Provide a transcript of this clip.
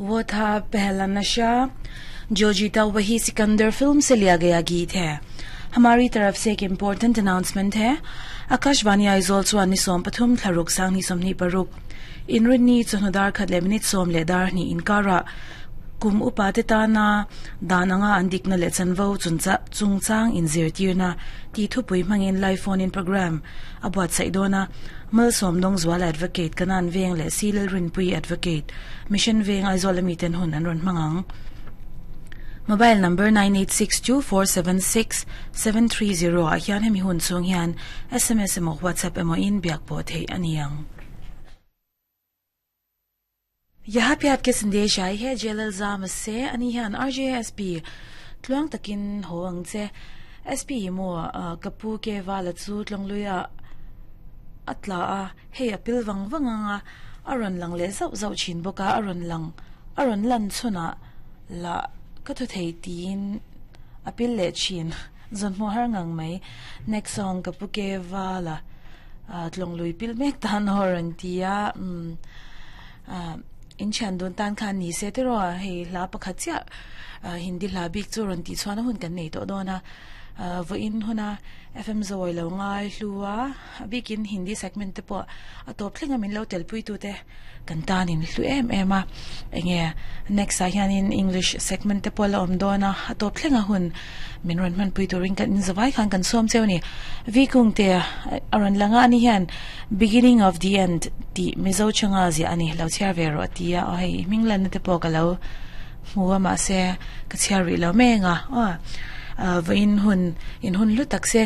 वो था पहला नशा, जो जीता वही सिकंदर फिल्म से लिया गया गीत है। हमारी तरफ से एक इम्पोर्टेंट अनाउंसमेंट है। आकाशवाणी Aizawl chuan ni 13 thla ruk 2026 inrinni chawhnu dar khat leh minute sawm leh dar hnih inkara kum upa te tana dan anga an dikna leh chanvo chungchang inzirtirna tih thupui hmangin live phone in programme a buatsaih dawn a. Malsawm Dawngzuala Advocate, Kanan Veng leh Silal Rinpui Advocate, Mission Veng Aizawl ami ten hun an rawn hmang ang. Mobile number 9862476730 ah hian hemi hun chhung hian sms emaw WhatsApp emaw in biak pawh theih a ni ang. Yaha pe aapke sandesh aayi hai Jalal Zama se ani hian RJSP tluang takin haw ang che. SP hi maw ka pu ke vala chu tlawngluia a tla a, hei a pil vang vang ang a, a rawn lang leh zauh zauh thin bawk a, a rawn lang a rawn lan chhunah lah ka thaw thei tiin a pil leh thin. Zawnhmuh har ngang mai. Next song ka pu ke vala tlawnglui pil mek tan aw rawn ti a, umm in thian dun tan khan ni se tiraw hei hla pakhat chiah Hindi hla bik chu rawn tih chhuahna hun kan nei tawh dawn a, vawiin huna FM zawi lo ngai hlu a, a bikin Hindi segment te pawh a tawp thleng a min lo telpui tute kan tanin hlu em em a, enge next ah hianin English segment te pawh a la awm dawn a, a tawp thleng a hun min rawn hmanpui turin kan inzawai khan kan sawm cheu a ni. V Kungte a rawn lang a, ani hian Beginning of the End tih Mizo changa ziah a ni, lo chhiar ve rawh a ti a, aw hei i hming lanna te pawh ka lo hmu a mahse ka chhiar rih lo mek a, aw vawiin hun in hun hlu tak se.